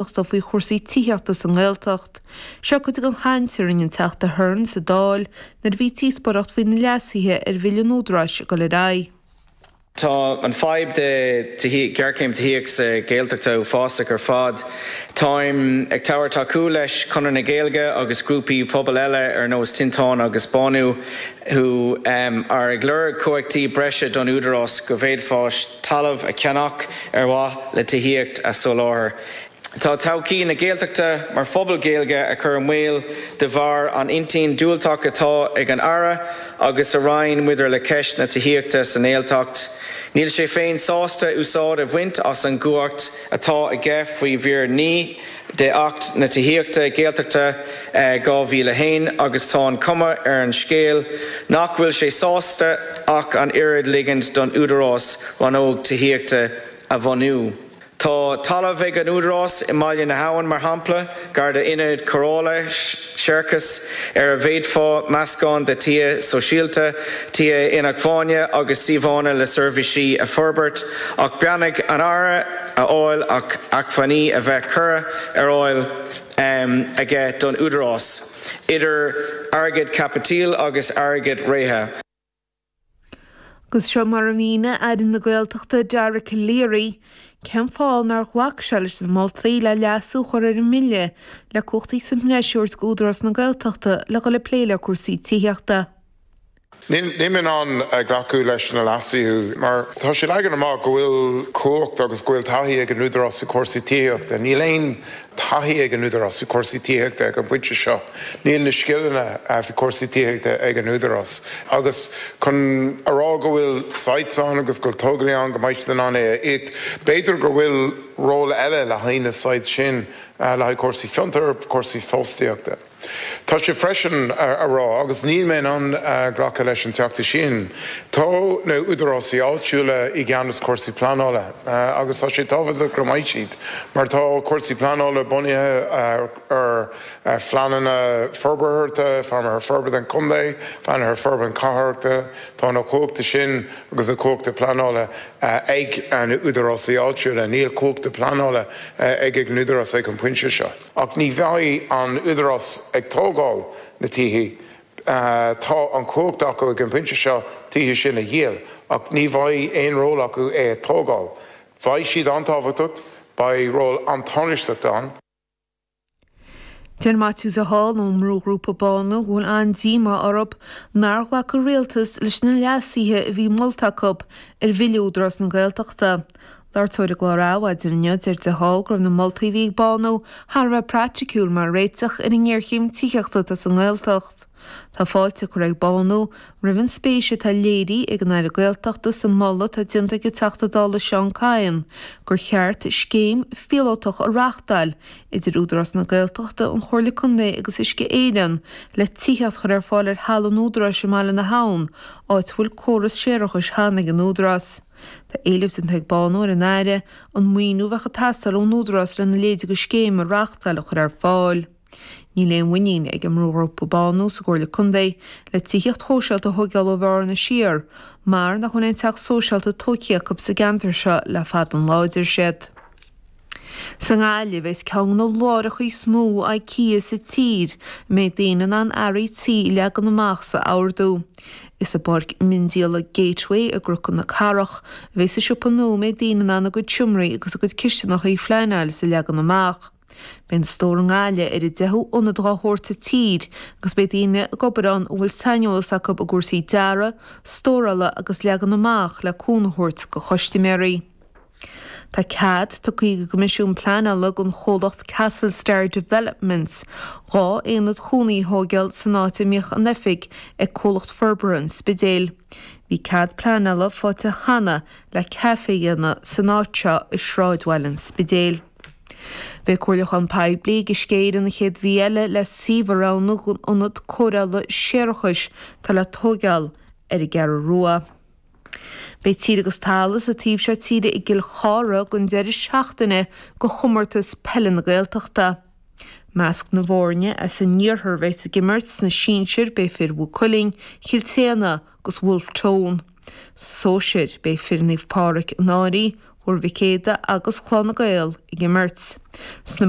Gaeltachta faoi chúrsaí tithíochta sa nGaeltacht. Seo cuid den chaint a rinne an Teachta Hearne sa Dáil nuair a bhí díospóireacht faoi na leasuithe ar Bhille an Údaráis ag dul ar aghaidh. Tá an fadhb de ghéarchéim tithíochta sa Ghaeltacht uafásach ar fad. Táim ag tabhairt tacú leis Conradh na Gaeilge agus grúpaí pobail eile ar nós Tinteán agus Bánú who are ag lorg cumhachtaí breise don Údarás go bhféadfáis talamh a cheannach ar mhaith le tithíocht a soláthar. Tá todhchaí na Gaeltachta mar phobal Gaeilge á cur i mbaol de bharr an intinn diúltach atá ag an Aire agus a Roinn maidir le ceist na tithíochta sa nGaeltacht. Níl sé féin sásta úsáid a bhaint as an gcumhacht atá aige faoi mhír 9 de Acht na Tithíochta Gaeltachta 2001 agus tá an cuma ar an scéal nach bhfuil sé sásta ach an oiread ligint don Údarás rannóg tithíochta a bhunú. Tá talamh ag an Údarás i mBaile na hAbhann, mar shampla, gar d'ionad cóireála séarachais ar a bhféadfá meascán de tithe sóisialta, tithe inacmhainne agus suíomhanna le seirbhísí a forbairt ach beannacht an Aire a fháil ach acmhainní a bheith curtha ar fháil aige don Údarás, idir airgead caipitil agus airgead reatha. Agus seo mar a mhínigh Aire na Gaeltachta Dara Calleary cén fáth nár ghlac sé leis na moltaí le leasú a chur ar an mbille le cumhachtaí sa mbreis a thabhairt d'Údarás na Gaeltachta le dhul ag plé le cúrsaí tithíochta. Níl mé in ann glacadh leis na leasuithe mar tá sé leagan amach go bhfuil cumhacht agus go bhfuil taithí ag an Údarás faoi chúrsaí tithíochta. Níl aon taithí ag an Údarás faoi chúrsaí tithíochta ag an bpointe seo. Níl na scileanna faoi chúrsaí tithíochta ag an Údarás. Agus chun a rá go bhfuil sites ann agus go bhfuil tógálaí ann go mbeidh siad in ann é a íoc, b'fhéidir go bhfuil ról eile le haghaidh na sites sin, le haghaidh cúrsaí fiontair, cúrsaí fostaíochta. Tá sé freisin a rá, agus níl mé in ann glacadh leis an Teachta sin, tá na údarásaí áitiúla i gceannas cúrsaí pleanála agus tá sé tábhachtach go mbeidh siad mar tá cúrsaí pleanála bunaithe ar phleananna forbartha, phleananna forbartha an chontae, phleananna forbartha cathrachta, tá na cumhachta sin agus na cumhachta pleanála ag na údarásaí áitiúla, níl cumhachta pleanála ag an údarás ag an bpointe seo. Ach ní bheidh an Údarás ag tógáil na tithe. Tá an chumhacht acu ag an bpointe seo tithe sin a dhíol, ach ní bheidh aon ról acu é a tógáil. Beidh siad an-tábhachtach, beidh ról an-tánaisteach ann. Deir Maitiú de Hál ón mbrúghrúpa Bánú go bhfuil an-díomá orthu nár ghlac an Rialtas leis na leasuithe a bhí molta acu ar Bhille Údarás na Gaeltachta. Labhairt ar an gclár Adhmhaidin inniu, deir de Hál go raibh na moltaí a bhí ag Bánú thar a bheith praiticiúil mar réiteach ar an ngéarchéim tithíochta atá sa nGaeltacht. Tá fáilte curtha ag Bánú roimh an spéis atá léirithe ag an Aire Gaeltachta sa moladh atá déanta ag an Teachta Dála Seán Kyne gur cheart scéim phíolótach a reáchtáil idir Údarás na Gaeltachta, an Chomhairle Contae agus Uisce Éireann le tithíocht a chur ar fáil ar thalamh an Údaráis i mBaile na hAbhann, áit a bhfuil córas séarachais cheana ag an Údarás. Tá éileamh déanta ag Bánú ar an Aire an maoiniú a bheadh ag teastáil ón Údarás lena leithéid de scéim a reáchtáil a chur ar fáil. Níl aon mhuinín ag an mbrúghrúpa Bánú sa gComhairle Contae le tithíocht shóisialta a thóigeáil ó Bhearna siar mar nach bhfuil aon teach sóisialta tóigthe acu sa gceantar seo le fada an lá, a deir siad. Sa nGaillimh, is ceann de na láithreacha is mó IKEA sa tír a mbeidh daoine in ann earraí tí a leagan amach is a ordú. Is i bPáirc Miondíola Gateway i gCnoc na Cathrach a bheidh an siopa nua a mbeidh daoine in ann a gcuid seomraí agus a gcuid cistineacha a phleanáil is a leagan amach. Beidh an stór i nGaillimh ar an deichiú ionad dá shórt sa tír agus beidh daoine ag obair ann a bhfuil saineolas acu i gcúrsaí dearaidh, stórála agus leagan amach le cúnamh a thabhairt do chustaiméirí. Tá cead tugtha ag an gCoimisiún Pleanála don chomhlacht Castle Star Developments 2 aonad chónaí a thóigeáil san áit a mbíodh an oifig ag Comhlacht Forbartha an Spidéil. Bhí cead pleanála faighte cheana le caife a dhéanamh san áit seo i sráidbhaile an Spidéil. Beidh comhairliúchán poiblí ag Uisce Éireann an chéad mhí eile le suíomh a roghnú don ionad cóireála séarachais atá le tóigeáil ar an gCeathrú Rua. Beidh tír agus talamh sa taobh seo tíre i gCill Chartha don deireadh seachtaine do chomórtas peile na Gaeltachta. Measc na bhfoirne as an iarthar a bheas ag imirt sna sinsir beidh fir Mhaigh Cuilinn, Chill tSéadhna agus Wolfe Tone. Sna sóisir beidh fir Naomh Pádraig an Fhairche, Thuar Mhic Éadaigh agus Clanna Gael ag imirt. Sna.